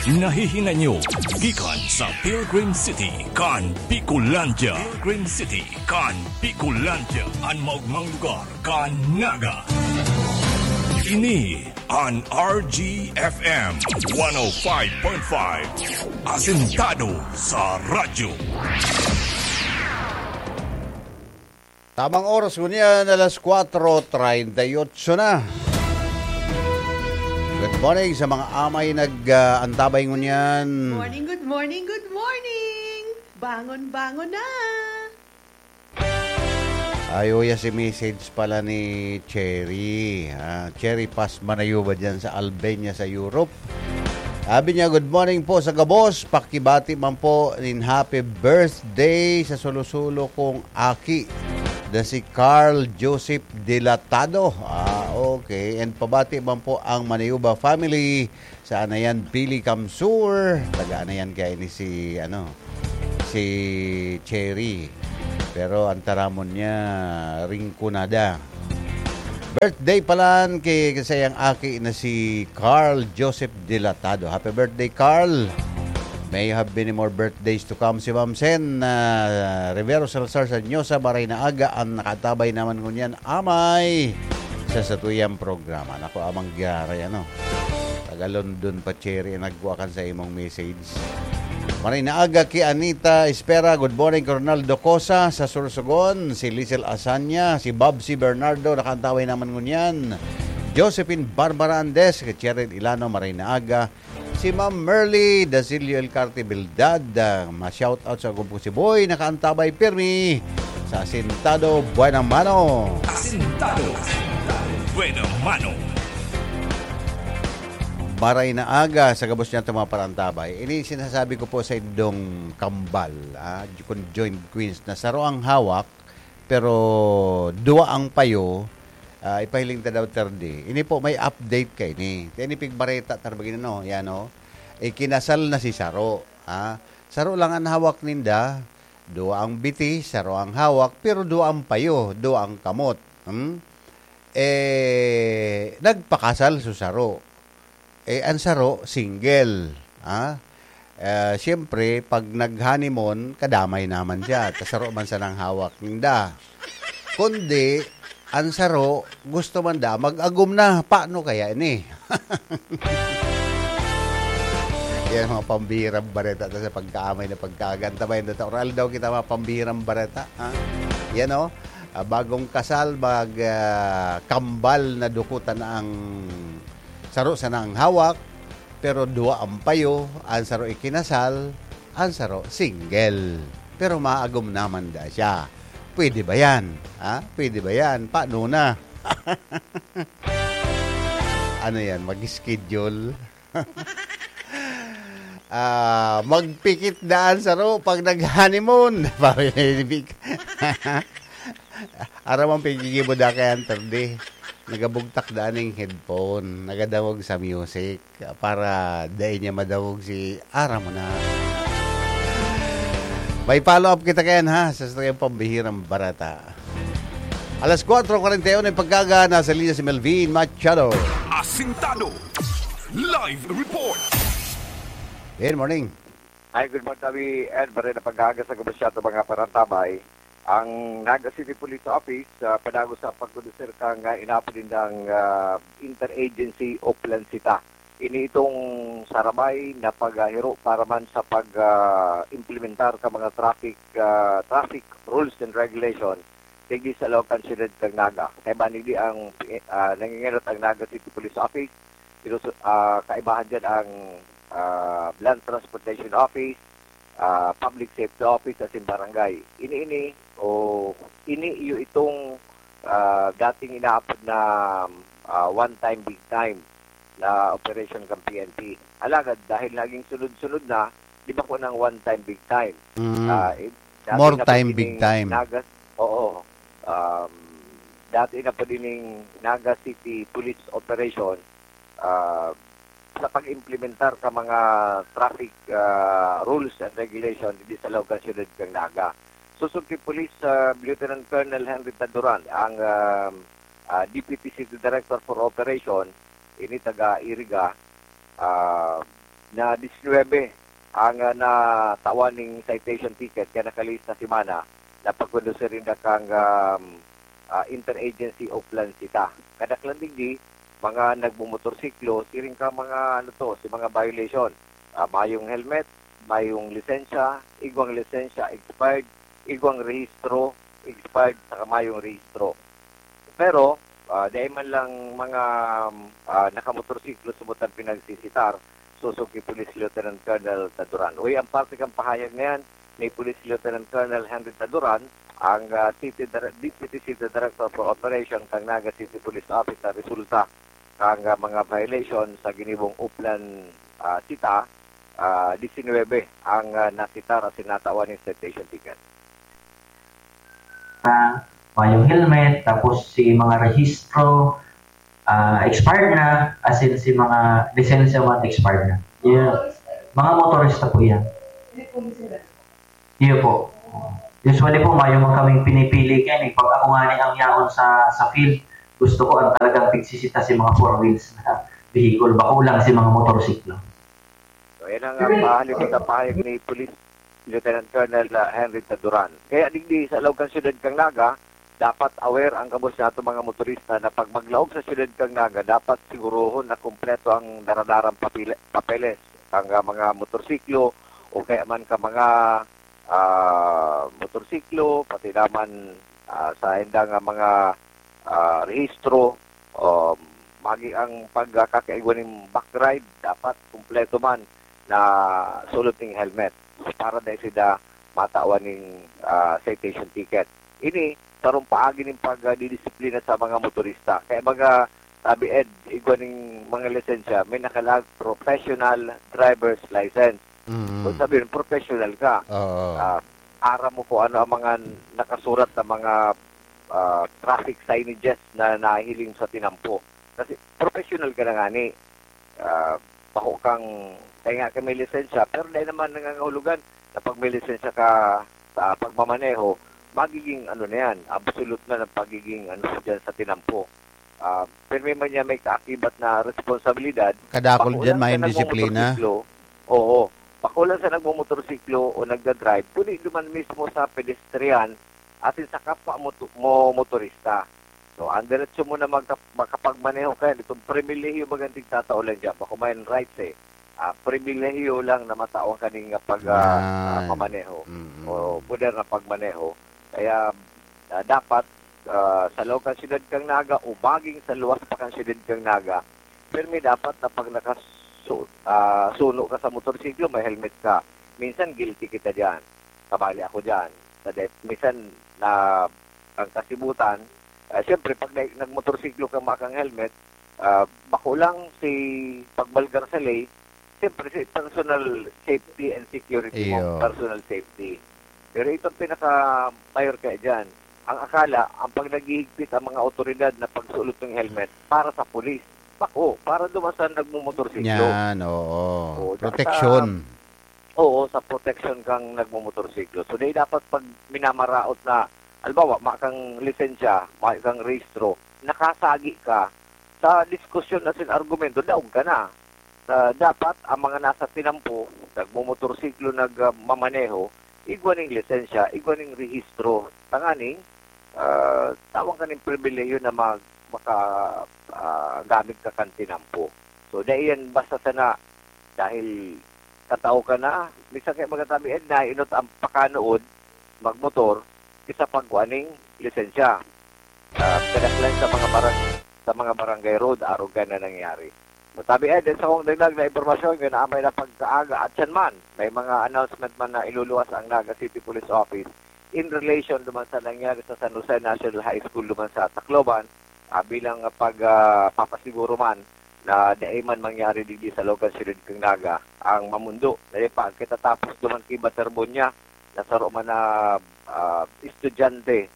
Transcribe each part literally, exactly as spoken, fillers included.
Nahihinanyo gikan sa Pilgrim City kan Bicolandia. Pilgrim City kan Bicolandia, an maogmang lugar kan Naga. Ini an R G F M one oh five point five, asentado sa radyo. Tamang oras ngunyan, alas kwatro treinta y ocho na. Good morning sa mga amay nag, ah, antabay ngunyan. Morning, good morning, good morning! Bangon, bangon na! Ay, uya si message pala ni Cherry. Ah, Cherry Paz Manayuba dyan sa Albania, sa Europe. Sabi niya, "Good morning po sa gabos. Pakibati man po nin happy birthday sa sulo-sulo kong aki na si Carl Joseph Dilatado." Ah, okay. And pabati man po ang Manayuba family sa Anayan, Pili, Kamsur. Taga Anayan kaya ini si, ano, si Cherry. Pero ang taramon niya, Rinconada. Birthday palan ki, ki saiyang aki na si Carl Joseph Dilatado. Happy birthday, Carl! May you have many more birthdays to come. Si Ma'am Sen, ah, Rivero Salazar Sanyosa, maray na aga, ang nakatabay naman ngunyan, amay, sa satuyang programa. Naku, amang gyaray, ano? Taga London pa, Cherry, ang nagkuha kan sa imong message. Maray na aga ki Anita Espera. Good morning, Ronaldo Cosa sa Sorsogon. Si Lizel Asanya, si Bobsy Bernardo, nakaantabay naman ngunyan. Josephine Barbara Andes, kay Cheryl Ilano, maray na aga. Si Ma'am Merly Dasilio El Carte Bildad, ah, ma-shout out sa gumpo si Boy, nakaantabay pirmi sa Asintado Buena Mano. Asintado Buena Mano. Maray na aga sa gabos niya itong mga parantabay. Ini sinasabi ko po sa indong kambal, ah, kun joined queens na saro ang hawak, pero duwa ang payo, ah, ipahiling ta daw, Terdi. Ini po, may update kay ni. Kaya ni Pigbareta, tarbagin ano, yan o. Ikinasal na si Saro, ah. Saro lang ang hawak ninda, duwa ang biti, saro ang hawak, pero duwa ang payo, duwa ang kamot. Hmm? Eh, nagpakasal su Saro. Eh, ang saro, single. Ah? Eh, siyempre, pag nag-honeymoon, kadamay naman siya. Ta saro man sanang hawak ninda. Kundi, ang saro, gusto man da, mag-agom na. Paano kaya ini? Yan ang mga pambihirang bareta ta sa pagkaamay na pagkaaganta. Bayan na ta, oral daw kita mga pambihirang bareta. Ha? Yan o. Ah, bagong kasal, mag, ah, kambal na dukutan na ang saro sana ang hawak, pero duwa ang payo, ang saro ikinasal, ang saro single. Pero maagom naman da siya. Pwede ba yan? Ha? Pwede ba yan? Paano na? Ano yan? Mag-schedule? Ah, magpikit daan saro pag nag-honeymoon. Pabibig. Aram ang paggigibo da kay Hunter di. Nagabugtak daan ning headphone. Nagadangog sa music para dai niya madangog si aram mo na. May follow-up kita kayan, ha, sa saktong pambihirang bareta. Alas kwatro kwarenta y uno yung pagkaga, nasa linya si Melvin Machado. Asintado. Live report. Good morning. Hi, good morning, Tabi. And maray na pagkaga sa gabos siya itong mga parantabay. Ang Naga City Police Office, ah, padagos sa pagkondusir kang, ah, inapod nindang, ah, interagency o plansita. Ini itong sarabay na paghahiro para man sa pag, ah, implementar ka mga traffic, ah, traffic rules and regulation digdi sa loob kan siyudad kan Naga. Kaiba digdi ang, ah, nangingenot ang Naga City Police Office. Sinusu-, ah, kaibahan diyan ang, ah, Land Transportation Office, ah, Public Safety Office asin barangay. Ini, ini, o ini iyo itong, ah, dating inaapod na, ah, one time big time na operation kan P N P. Alagad dahil naging sunod-sunod na, di ba ko ng one time big time? Mm. Ah, eh, dati More na po time, ining big time. Naga, oo. Um, dati na po din yung Naga City Police Operation, ah, sa pag-implementar ka mga traffic, ah, rules and regulation dito sa loob ng siyudad ng Naga. Susunod kay Police, ah, Lieutenant Colonel Henry Taduran, ang, ah, ah, Deputy City Director for Operation, ini taga Iriga, ah, na disinwebe ang, ah, natawan ning citation ticket kaya nakalihis na semana na pagkondusir ninda kang, um, ah, interagency Oplan CITA. Kadaklan digdi, mga nagmomotorsiklo, siring ka mga, ano to, si mga violation. Ah, mayong helmet, mayong lisensya, igwang lisensya expired, igwang rehistro expired, saka mayong rehistro. Pero, ah, dai man lang mga, ah, nakamotorsiklo subot ang pinagsisitar, sosog ki Police Lieutenant Colonel Taduran. Uy, ang parte kang pahayag na yan ni Police Lieutenant Colonel Henry Taduran, ang, ah, City Dire-, Deputy City Director for Operation kang Naga City Police Office sa resulta kang, ah, mga violation sa ginibong Oplan, ah, CITA, ah, disinwebe ang, ah, nasitar asin natawan ning citation ticket. Ah, mayong helmet, tapos si mga rehistro, ah, expired na, asin si mga lisensya man expired na. Yeah. Mga motorista po yan. Iyo po. Usually po, mayo man kaming pinipili kaya eh. Pag ako nga ni ang yaon sa, sa field, gusto ko ang talagang pigsisita si mga four wheels na vehicle, bako lang si mga motorsiklo. So, yan ang, ah, pahalipot na pahayag ni Police Lieutenant Colonel, ah, Henry Taduran. Kaya digdi sa laog kan siyudad kang Naga, dapat aware ang gabos nato mga motorista na pag maglaog sa siyudad kang Naga, dapat sigurohon na kompleto ang daradarang papile-, papeles, ang, ah, mga motorsiklo o kaya man ka mga, ah, motorsiklo, pati naman, ah, sa indang, ah, mga, ah, rehistro, um, magi ang pagkakaigwa ning back ride, dapat kompleto man na sulod ning helmet para dai sida matawan ning, ah, citation ticket. Ini sarong paagi ning pagdidisiplina sa mga motorista. Kaya mga tabi ed, igwa ning mga lisensya, may nakalag professional driver's license. Mm. Kung sabihin, professional ka. Oo. Ah, aram mo kung ano ang mga nakasurat na mga, ah, traffic signages na nahiling sa tinampo. Kasi professional ka na nga ni. Ah, bako kang, kaya nga ka may lisensya, pero dahil naman nangangahulugan na pag may lisensya ka sa pagmamaneho, magiging ano na yan, absolute na ng pagiging ano dyan sa tinampo. Ah, pero may man niya may kaakibat na responsibilidad. Kadakol Bako dyan, lang may ka disiplina. nagmumotorsiklo. Oo. Bako lang sa nagmumotorsiklo o nagdadrive, kundi duman mismo sa pedestrian at sa kapwa moto- mo motorista. So, ang diretso mo na magka- makapagmaneho kaya, itong pribilehiyo bagang tigtatao lang dyan. Bako may rights eh. Ah, pribilehiyo lang na matawan kaning pag ah, Yan. ah, mamaneho. Mm. O poder na pagmaneho. Kaya ah, dapat ah, sa laog kan siyudad kang Naga o maging sa luwas pa kan siyudad kang Naga, pirmi dapat na pag nakasu- ah, suno ka sa motorsiklo, may helmet ka. Minsan guilty kita diyan. Kabali ako diyan. Sa de- minsan na ang kasibutan, ah, siyempre pag na- nagmotorsiklo ka makang helmet, ah, bako lang si pagbalgar sa lay, siyempre si personal safety and security mo, Iyo. personal safety. Pero itong pinaka mayor kaya dyan, ang akala, ang pag naghihigpit ang mga otoridad na pagsulot ng helmet para sa pulis. Bako, para duman sa nagmumotorsiklo. Yan, oo. Oo, Protection. Oo, sa protection kang nagmumotorsiklo. So, dahil dapat pag minamaraot na, halimbawa, ma kang lisensya, ma kang rehistro, nakasagi ka sa diskusyon na sin argumento, daog ka na. Sa, dapat ang mga nasa tinampo, nagmumotorsiklo, nagmamaneho, igwa ning lisensya, igwa ning rehistro, tanganing ah, tawan ka ning pribilehiyo na mag, maka, ah, gamit ka kan tinampo. So, dai yan basta sana dahil katao ka na, minsan kaya magatabi, eh, nainot ang pakanood, magmotor, isa pagkuha ning lisensya. Ah, kadaklan sa mga barang-, sa mga barangay road, arog ka na nangyari. Matabi, eh, din sa kong dagdag na impormasyon, yun amay na pagkaaga at siyan man, may mga announcement man na iluluwas ang Naga City Police Office in relation duman sa nangyari sa San Jose National High School duman sa Tacloban, ah, bilang pag, ah, papasiguro man na dai man mangyari digdi sa laog kan siyudad kang Naga ang mamundo. Dai pa, kita tapos duman ki Baterbonia, na saro man na, ah, estudyante,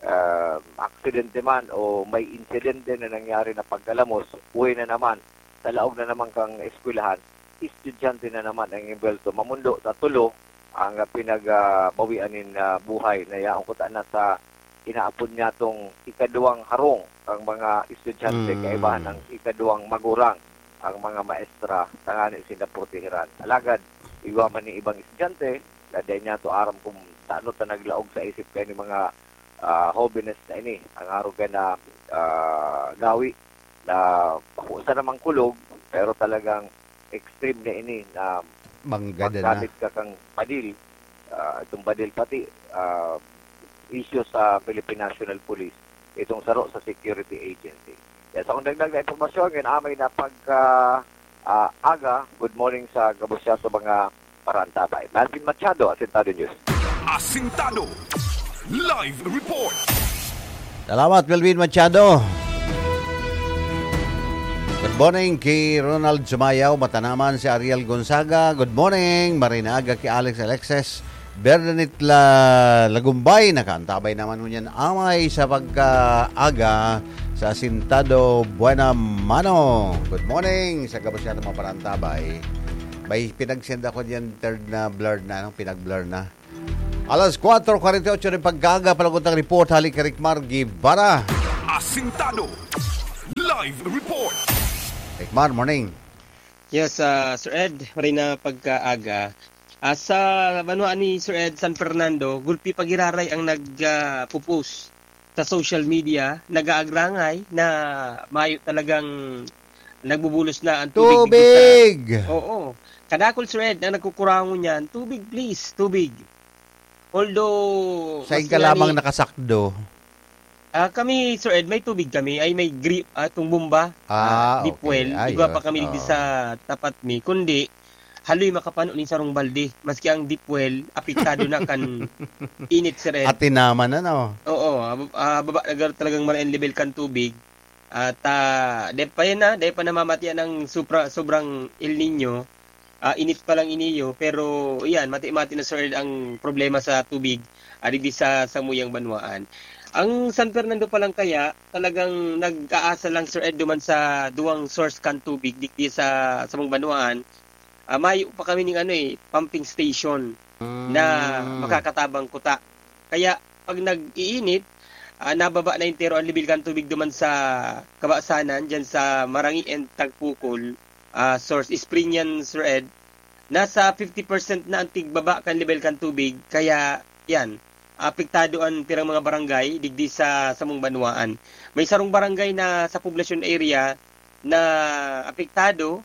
ah, aksidente man o may insidente na nangyari na pagkalamos, uwi na naman, sa laog na naman kang eskwelahan, estudyante na naman ang imbwelto. Mamundo sa tulo ang, ah, pinagbawian nin, ah, buhay na yaon kuta na sa inaapod niya tong ikaduwang harong ang mga estudyante, Mm. kaibahan ang ikaduwang magurang. ang mga maestra tangani sinda proteheran. Alagad, igwa man ning ibang estudyante, na dai niya to aram kung tano ta naglaog sa isip kani mga, ah, hobenes na ini, ang arog ka na, ah, gawi na bako sa namang kulog, pero talagang extreme na ini na Mangga na. Maggamit ka kang padil, ah, itong padil pati, ah, issue sa Philippine National Police, itong saro sa security agency. Yan, sa akong dagdag na impormasyon, ngayon amay na pagka, ah, aga, good morning sa gabos niya sa mga parantabay. Melvin Machado, Asintado News. Asintado. Live report. Salamat, Melvin Machado. Good morning ki Ronald Sumayaw, Matanaman, si Ariel Gonzaga. Good morning, Marinaga ki Alex Alexis. Bernadette La Lagumbay, nakaantabay naman ngunyan amay sa pagkaaga sa Asintado Buena Mano. Good morning sa gabos niya mga parantabay. May pinagsenda ko diyan, third na blur na, ano? Pinag-blur na. Alas kwatro kwarenta y ocho nin pagkaaga, palagutang report, hali kay Ricmar Guevara. Asintado. Live report. Ricmar, morning. Yes, ah, Sir Ed, maray na pagkaaga. Ah, sa banwaan ni Sir Ed, San Fernando, gulpi pa giraray ang nag, ah, pupus sa social media, nag-aagrangay na mayo talagang nagbubulos na ang tubig dito sa Tubig! Oo. Kadakul, Sir Ed, ang nagkukurangon niyan, tubig, please, tubig. Although, Sain mas ka lamang ngani nakasakdo? Ah, kami, Sir Ed, may tubig kami, ay may gri-, ah, itong bomba, Ah, ah, deep okay. well. Igwa pa Ayos, kami digdi oo. sa tapat mi, kundi haloy makapano nin sarong balde, maski ang deep well, apektado na kan init, Sir Ed. At tinaman na, no? Oo, ah, bab-, ah, baba na talagang maraen level kan tubig. At, ah, dai pa yan, ah, dai pa namamatian ang supra-, sobrang El Niño. Ah, init pa lang ini, oh, pero iyan, mati-mati na, Sir, ang problema sa tubig, ah, digdi sa samuyang banwaan. Ang San Fernando pa lang kaya, talagang nag-aasa lang, Sir Ed, duman sa duwang source kan tubig digdi sa samong banwaan. Ah, mayo pa kami ning ano, eh, pumping station na Mm. makakatabang kuta. Kaya, pag nag-iinit, ah, nababa na entero ang level kan tubig duman sa kabasanan, dyan sa Marangi and Tagpukol, ah, source, spring yan, Sir Ed. Nasa fifty percent na ang tigbaba kan level kan tubig, kaya yan, apektado ang pirang mga barangay digdi sa samong banwaan. May sarong barangay na sa poblasyon area na apektado,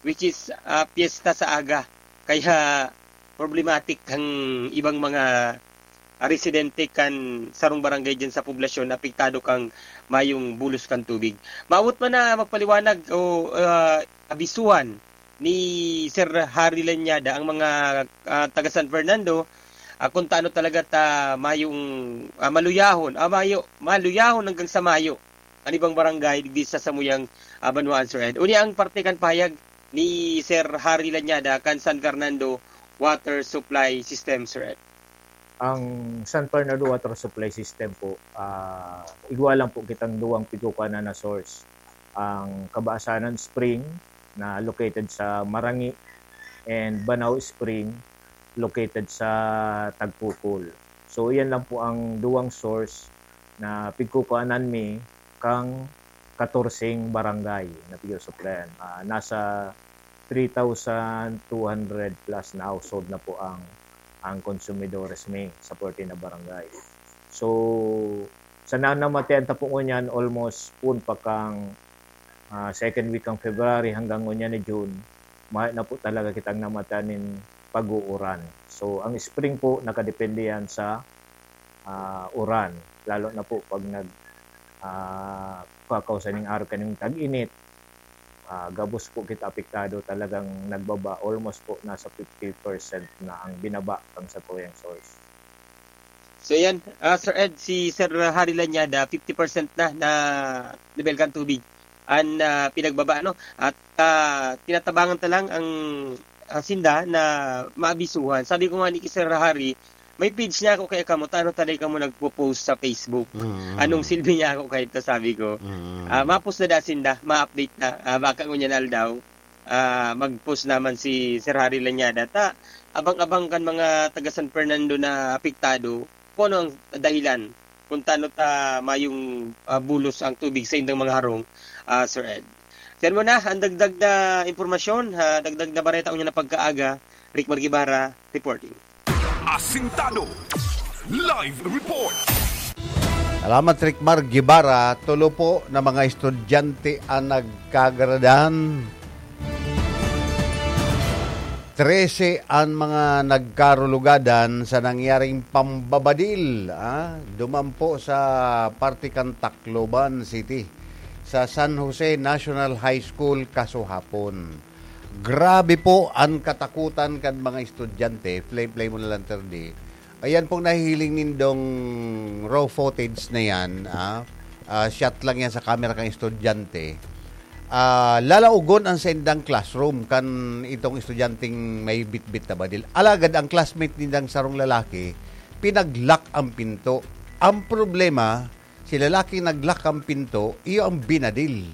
which is, ah, piyesta sa aga. Kaya problematic ang ibang mga, ah, residente kan sarong barangay diyan sa poblasyon na apektado kan mayong bulos kan tubig. Maabot man na magpaliwanag o, ah, abisuhan ni Sir Harry Lanyada ang mga, ah, taga San Fernando, ah, kung taano talaga ta mayong, ah, maluyahon, ah, mayo, maluyahon hanggang sa mayo an ibang barangay digdi sa samuyang, ah, banwaan, Sir Ed. Unya ang parte kan pahayag ni Sir Harry Lanyada kan San Fernando Water Supply System, Sir Ed. Ang San Fernando Water Supply System po, ah, igwa lang po kitang duwang pigkukuhanan na source. Ang Kabasanan Spring na located sa Marangi and Banao Spring located sa Tagpukol. So, iyan lang po ang duwang source na pigkukuhanan mi kang katorseng barangay na pigsusuplayan. Ah, nasa three thousand two hundred plus na household na po ang, ang konsumidores mi sa fourteen na barangay. So, sa nanamatian ta po ngunyan, almost poon pa kang, ah, second week kang February hanggang ngunyan ni June, mayo na po talaga kitang namatian nin pag-uuran. So, ang spring po, nakadepende yan sa, ah, uran. Lalo na po pag nag, ah, kakausa ning araw kaning tag-init, ah, gabos po kita apektado, talagang nagbaba, almost po nasa fifty percent na ang binaba kan satuyang source. So, yan, ah, Sir Ed, si Sir Harry Lanyada, fifty percent na, na level kan tubig an, ah, pinagbaba, no? At, ah, tinatabangan ta lang ang, ah, sinda na maabisuhan. Sabi ko nga ni Sir Harry, may page na ako kaya kamo, tano taday kamo nagpo-post sa Facebook. Mm. Anong silbi niya ako kahit na sabi ko? Mm. Ah, ma-post na da sinda, ma-update na. Ah, baka ngunyan aldaw, ah, mag-post naman si Sir Harry Lanyada. Ta, abang-abang kan mga taga San Fernando na apektado, kung ano ang dahilan, kung tano ta mayong, ah, bulos ang tubig sa indang mga harong, ah, Sir Ed. Yan muna ang dagdag na impormasyon, ha, dagdag na bareta unya na pagkaaga. Rick Margibara reporting. Asintado. Live report. Salamat, Rick Mar Guevara. Tulo po na mga estudyante ang nagkagradahan. Trese ang mga nagkarulugadan sa nangyaring pambabadil, ah, duman po sa parte kan Tacloban City, sa San Jose National High School kasuhapon. Grabe po ang katakutan kan mga estudyante. Play, play mo na lang, Terdi. Ayan pong nahihiling nindong raw footage na yan, ah, ah, shot lang yan sa camera kan estudyante. Ah, lalaugon ang saindang classroom kan itong estudyanteng may bitbit na badil. Alagad ang classmate nindang sarong lalaki, pinag-lock ang pinto. Ang problema, si lalaki nag-lock ang pinto, iyo ang binadil.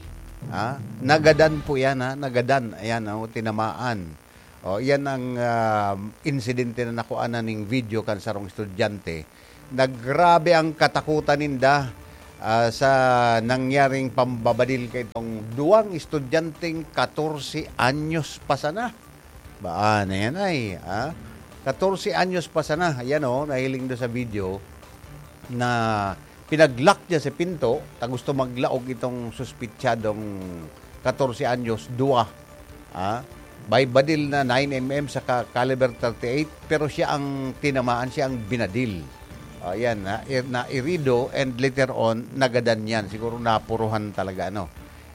Ha? Nagadan po yan, ha? Nagadan. Ayan, oh, tinamaan. Oh, yan ang, ah, insidente na nakuha na ning video kan sarong estudyante. Naggrabe ang katakutan ninda, ah, sa nangyaring pambabadil kaitong duwang estudyanteng katorse anyos pa sana. Baan na yan ay, ah? Katorse anyos pa sana. Ayan, oh, nahiling do sa video na pinag-lock niya sa pinto, ta gusto maglaog itong suspitsadong katorse anyos, duwa. Ah, may badil na nine M M saka caliber thirty-eight, pero siya ang tinamaan, siya ang binadil. Ah, yan, na, nairido and later on, nagadan yan. Siguro napuruhan talaga, ano.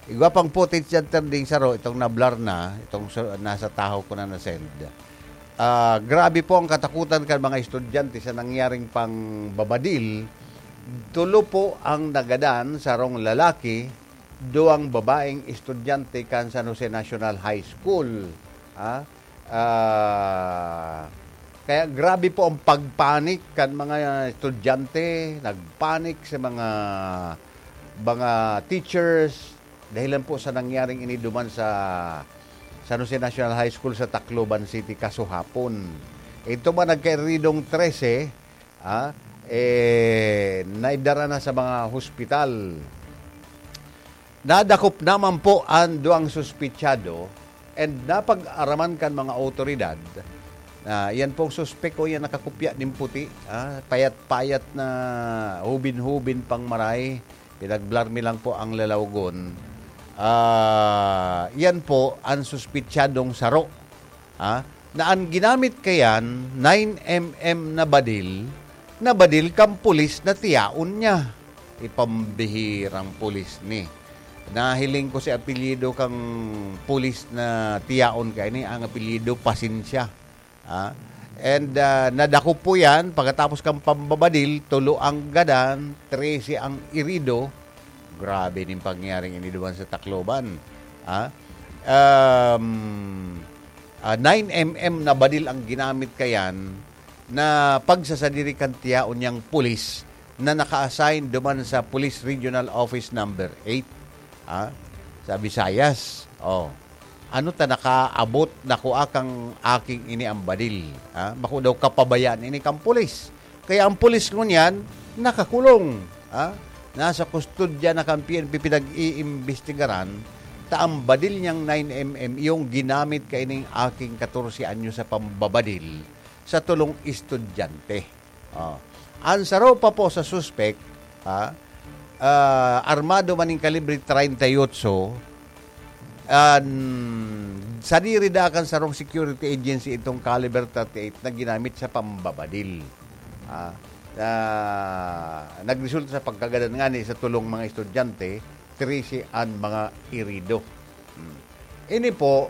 Igwa pang footage yan, Terding Saro, itong na-blur na, itong sa, nasa tahaw ko na na-send. Ah, grabe po ang katakutan kan mga estudyante sa nangyaring pangbabadil. Tulo po ang nagadan, sarong lalaki, duwang babaeng estudyante kan San Jose National High School. Ah, ah, kaya grabe po ang pagpanik kan mga estudyante, nagpanik sa mga, mga teachers, dahilan po sa nangyaring ini duman sa San Jose National High School sa Tacloban City kasuhapon. Ito man nagkairidong trese, ah, eh, naidara na sa mga hospital. Nadakop naman po ang duwang suspitsado and napag-araman kan mga awtoridad na yan pong suspek o yan nakakupya nin puti, ah, payat-payat na hubin-hubin pang maray, pinag-blur mi lang po ang lalawgon. Ah, yan po ang suspitsadong saro, ah, na ang ginamit kayan, nine M M na badil, na badil kan pulis na tiyaon niya. Ipambihirang pulis ni. Nahiling ko si apelyido kang pulis na tiyaon kaini, ang apelyido Pasensya. Ah, and, ah, nadakop po yan, pagkatapos kang pambabadil, tulo ang gadan, trese ang irido. Grabe nin pangyayaring ini duman sa Tacloban. Ah, um, ah, nine M M na badil ang ginamit kayan na pagsasadiri kan tiyaon niyang pulis na naka-assign duman sa Police Regional Office Number eight, ah, sa Visayas. Oh. Ano ta nakaabot na kua kang aking ini ang badil? Ah, bako daw kapabayaan ini kan pulis. Kaya ang pulis ngunyan, nakakulong. Ah, nasa kustodya na kan P N P, pinag-iimbestigaran ta ang badil niyang nine M M yung ginamit kaining aking katorse anyo sa pambabadil sa tulong estudyante. Oh. Ang saro pa po sa suspek, ha, ah, armado man ning kalibre treinta y ocho, an, sadiri da kan sarong security agency itong caliber thirty-eight na ginamit sa pambabadil. Ah, na nagresulta sa pagkagadan ngani sa tulong mga estudyante, trese an mga irido. Hmm. Ini po,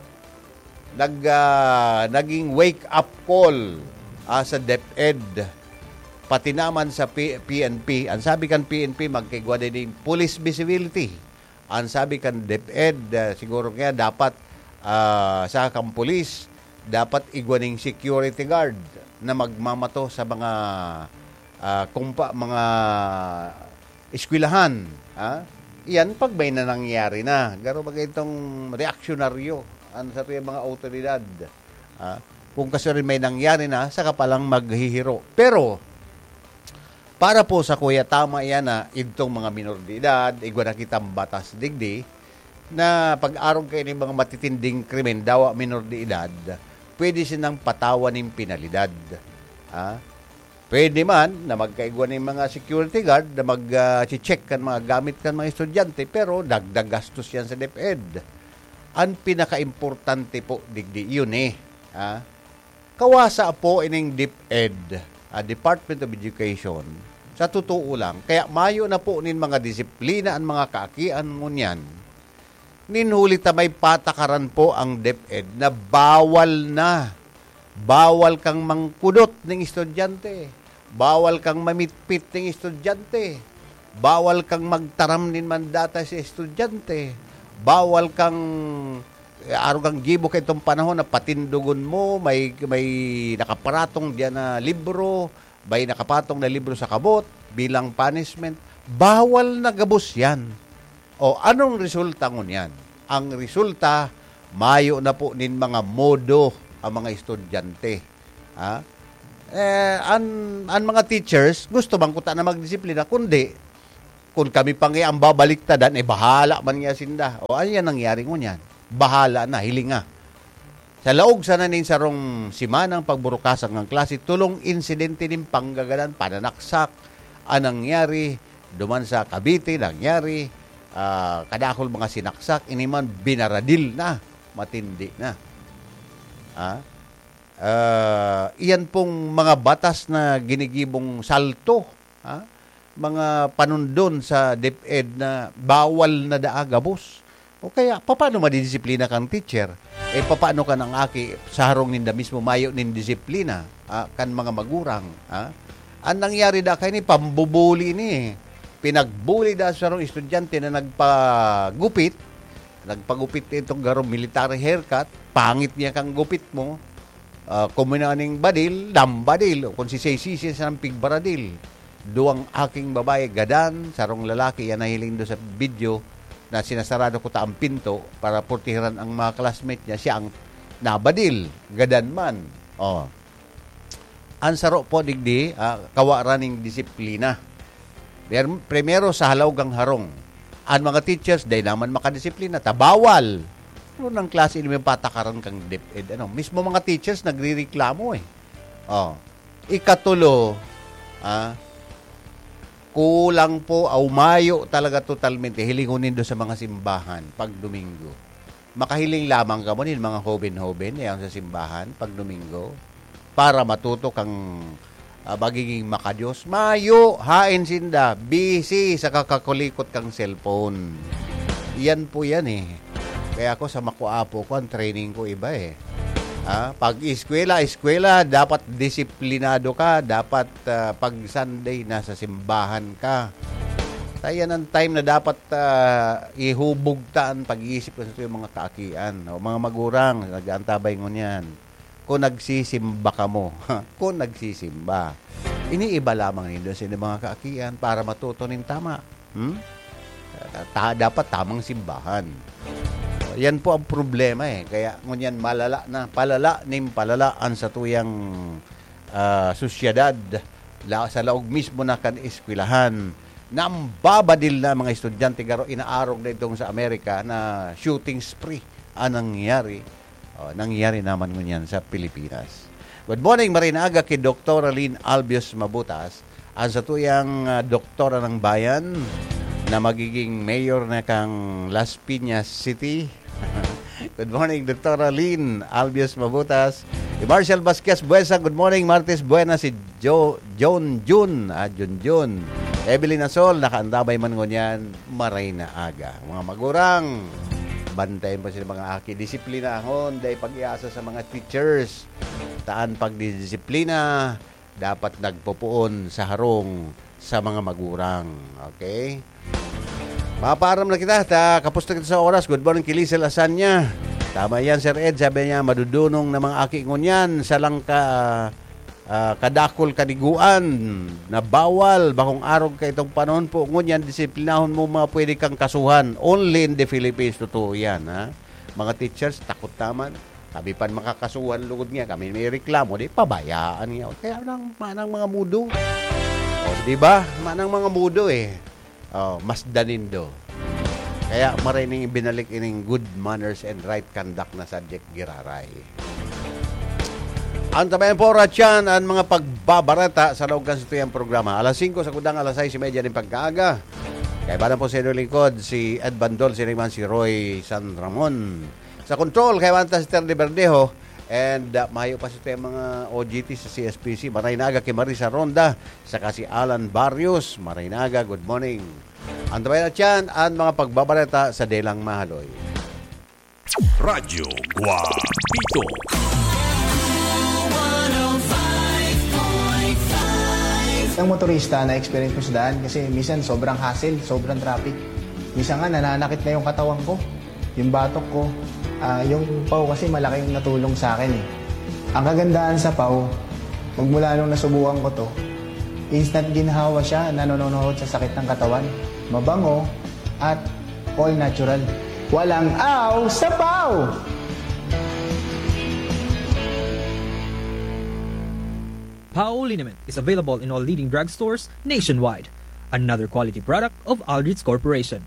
nag, ah, naging wake-up call, ah, sa DepEd, pati naman sa P-, P N P. Ang sabi kan P N P, magkaigwa din yung police visibility. Ang sabi kan DepEd, ah, siguro kaya dapat, ah, sa kang pulis, dapat igwa ning security guard na magmamato sa mga, ah, kumpa-, mga eskwelahan, ha? Iyan pag may na nangyari na. Garo baga itong reaksyonaryo an satuyang mga awtoridad, ha? Kung kasuarin may nangyari na, saka pa lang maghihiro. Pero, para po sa kuya, tama iyan na idtong mga minor de edad, igwa na kitang batas digdi, na pag-arog kaini mga matitinding krimen, dawa minor de edad, pwede sinang patawan nin penalidad. Ah, pwede man na magkaigwa nin mga security guard na mag, ah, che-check kan mga gamit kan mga estudyante, pero dagdag gastos yan sa DepEd. Ang pinakaimportante po, digdi, yun eh. Ah, kawasa po ining DepEd, ah, Department of Education, sa totoo lang. Kaya mayo na po nin mga disiplina an mga kaakian ngunyan. Nin huli ta may patakaran po ang DepEd na bawal na. Bawal kang mangkudot ning estudyante. Bawal kang mamitpit ning estudyante. Bawal kang magtaram nin mandata sa estudyante. Bawal kang, eh, arog ang gibo kaitong panahon na patindogon mo, may, may nakaparatong diyan na libro, may nakapatong na libro sa kabot bilang punishment. Bawal na gabos yan. O, anong resulta ngunyan? Ang resulta, mayo na po nin mga modo ang mga estudyante. Ha? Eh, an, an mga teachers, gusto man kuta na magdisiplina, kundi, kun kami pa nga ang babaliktadan, eh, bahala man nga sinda. O, ano yan nangyari ngunyan? Bahala na, hilinga. Sa laog sana nin sarong simanang pagburukasan ng klase, tolong insidente nin panggagadan, pananaksak, ang nangyari, duman sa Cavite, nangyari, ah, kadakul mga sinaksak, ini man binaradil na, matindi na. Ah? Ah, iyan pong mga batas na ginigibong salto, ah, mga panundon sa DepEd na bawal na daa gabos. O kaya, papaano madidisiplina kang teacher? Eh, papaano ka nang aki sa harong ninda mismo mayo nin disiplina, ah, kan mga magurang, ah? Ang nangyari da kaini, pambubuli ni, eh. Pinagbuli da sa sarong estudyante na nagpagupit, nagpagupit itong garong military haircut, pangit niya kang gupit mo, ah, kung may naning badil, dambadil, o kung sisay-sisay sa pigbaradil. Duwang aking babae, gadan, sarong lalaki, yan nahiling do sa video na sinasarado ko ta ang pinto para purtihiran ang mga classmate niya, siya ang nabadil, gadan man. Oh. Ang saro po, digdi, ah, kawa ra ning disiplina. Primer-, primero, sa halaw kang harong. Ang mga teachers, dai naman makadisiplina, ta bawal. Ano nang klase ini may patakaran kang DepEd? Ano, mismo mga teachers nagrereklamo eh. Oh. Ikatulo, ah, kulang po, aw mayo talaga totalmente, hilingon nindo sa mga simbahan pag Domingo. Makahiling lamang kamo nin mga hoben-hoben na yan sa simbahan pag Domingo para matuto kang, ah, magiging makadiyos. Mayo, hain sinda, busy sa kakakulikot kang cellphone. Yan po yan eh. Kaya ako sa makuapo ko, ang training ko iba eh. Ha? Pag eskwela, eskwela, dapat disiplinado ka, dapat, ah, pag Sunday, nasa simbahan ka. Kaya yan ang time na dapat, ah, ihubog ta ang pag-iisip ko sa tuyong mga kaakian, o mga magurang, nag-aantabay ngunyan. Kung nagsisimba kamo, kung nagsisimba, iniiba lamang nindo sa inyong mga kaakian para matuto nin tama. Hmm? Ta-, dapat tamang simbahan. Yan po ang problema eh. Kaya ngunyan malala na, palala nin palala ang satuyang, ah, sosyedad la-, sa laog mismo na kan eskwelahan. Nambabadil na ang mga estudyante, garo inaarog na itong sa Amerika na shooting spree ang nangyari. Oh, nangyari naman ngunyan sa Pilipinas. Good morning, Marinaga, ki Doktora Lynn Albios Mabutas, ang satuyang, ah, doktora ng bayan na magiging mayor na kang Las Piñas City. Good morning, Doktora Lynn Albios Mabutas. Si Marshall Vasquez Buesa, good morning, Martes Buena, si Jo-, John Jun, ah, Jun Jun. Evelyn Asol, nakaantabay man ngunyan, maray na aga. Mga magurang, bantayan po sila mga aki. Disiplinahon, dai pag-iasa sa mga teachers. Taan pagdidisiplina, dapat nagpupuon sa harong sa mga magurang. Okay? Mapaaram na kita, ta, kapos na kita sa oras. Good morning, Kilisel Asanya. Tama yan, Sir Ed. Sabi niya, madudunong na mga aki ngunyan sa langka, ah, kadakol kaniguan na bawal, bakong arog ka itong panahon po. Ngunyan, disiplinahon mo mga pwede kang kasuhan. Only in the Philippines, totoo yan, ha? Mga teachers, takot naman. Kami pan makakasuhan lugod nga, kami may reklamo, di pabayaan nga. Kaya nang, manang mga mudo. O, di ba? Manang mga mudo eh. O, mas danindo. Kaya maray ning ibinalik ining good manners and right conduct na subject giraray. Antabayan po, Ratchan, ang mga pagbabareta sa laog kan satuyang programa. Alas singko sa kudang, alas sais y media nin pagkaaga. Kaibanan po sa inyong lingkod, si Ed Bandol, sining man si Roy San Ramon. Sa control, kaibanan ta si Terdy Verdejo. And, ah, mayo pa sa mga O G T sa C S P C. Maray na aga ki Marisa Ronda, saka si Alan Barrios. Maray na aga, good morning. Antabayan na tiyan an mga pagbabareta sa Delang Mahaloy. Radyo Guapito. Ang motorista na experience ko sa daan kasi minsan sobrang hassle, sobrang traffic. Minsan nga nananakit na yung katawan ko, yung batok ko. Ah, yung pau kasi malaking natulong sa akin eh. Ang kagandahan sa pau, magmula nung nasubukan ko to, instant ginhawa siya, nanononohod sa sakit ng katawan. Mabango at all natural. Walang aw sa pau! Pau liniment is available in all leading drugstores nationwide. Another quality product of Aldrich Corporation.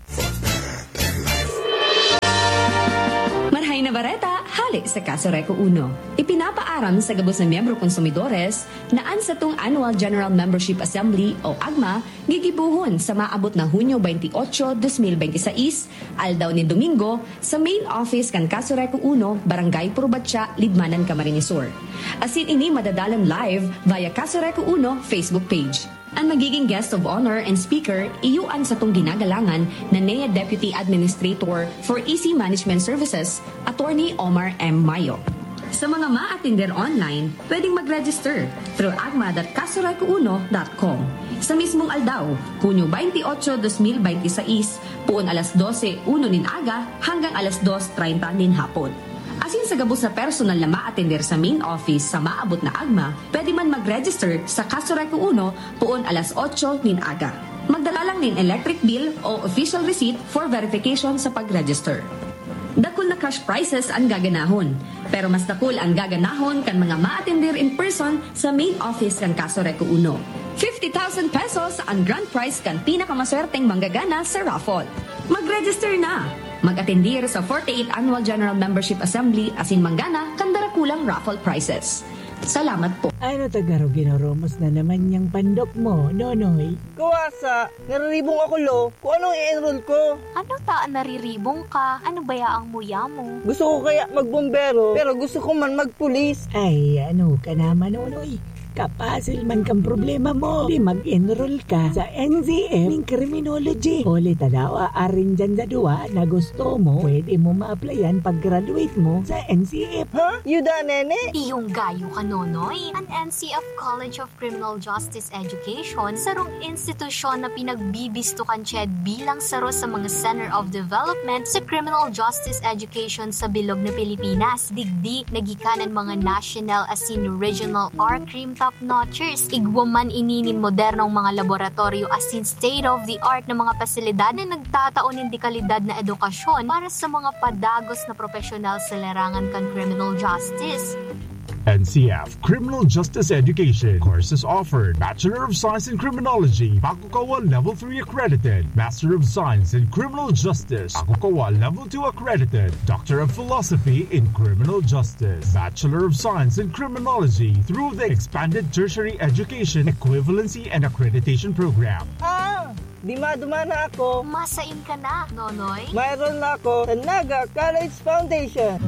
Marhay na bareta, hale sa Kasureco Uno. Ipinapaaram sa gabos na miyembro konsumidores na an satong Annual General Membership Assembly o agma gigibohon sa maabot na Hunyo twenty-eight, twenty twenty-six, aldaw nin Domingo, sa main office kan Kasureco Uno, Barangay Purbatya, Libmanan, Camarines Sur. Asin ini madadalan live via Kasureco Uno Facebook page. An magiging guest of honor and speaker iyo an satong ginagalangan na N E A Deputy Administrator for E C Management Services, Attorney Omar M. Mayo. Sa mga maatender online, pwedeng mag-register through agma dot kasureco uno dot com. Sa mismong aldaw, Hunyo twenty-eight, twenty twenty-six, poon alas dose uno nin aga hanggang alas dos treinta nin hapon. Asin sa gabos na personal na maatender sa main office sa maabot na agma, pwede man mag-register sa Kasureco Uno poon alas otso nin aga. Magdala lang nin electric bill o official receipt for verification sa pag-register. Dakul na cash prizes ang gaganahon, pero mas dakul ang gaganahon kan mga maatender in person sa main office kan Kasureco Uno. Fifty thousand pesos ang grand prize kan pinakamaswerteng manggagana sa raffle. Mag-register na! Mag-atendir sa forty-eighth Annual General Membership Assembly asin manggana kan darakulang raffle prizes. Salamat po. Ano ta garo ginoromos na naman yang pandok mo, Nonoy? Kawasa, nariribong ako, lo. Kung anong i-enroll ko. Ano ta an nariribong ka? Ano baya ang muya mo? Gusto ko kaya magbombero, pero gusto ko man magpulis. Ay, ano ka naman, Nonoy? Kapasil man kan problema mo. Di mag-enroll ka sa N C F ning criminology. Huli ta daw, arin dyan sa duwa na gusto mo, pwede mo ma-applyan pag-graduate mo sa N C F. Ha? Yuda, nene? Iyong gayo ka, Nonoy. An N C F College of Criminal Justice Education, sarong institusyon na pinagbibisto kan CHED bilang saro sa mga Center of Development sa Criminal Justice Education sa bilog na Pilipinas. Digdi, nagikanan mga national asin regional R-Crime top notchers. Igwa man ini nin modernong mga laboratoryo asin state-of-the-art na mga pasilidad na nagtatao nin dekalidad na edukasyon para sa mga padagos na propesyonal sa larangan kan criminal justice. N C F Criminal Justice Education. Courses offered: Bachelor of Science in Criminology, Pakukawa Level three accredited; Master of Science in Criminal Justice, Pakukawa Level two accredited; Doctor of Philosophy in Criminal Justice, Bachelor of Science in Criminology through the Expanded Tertiary Education Equivalency and Accreditation Program. Ah! Di madumana ako. Masain ka na, Nonoy. Mayroon na ako sa Naga College Foundation.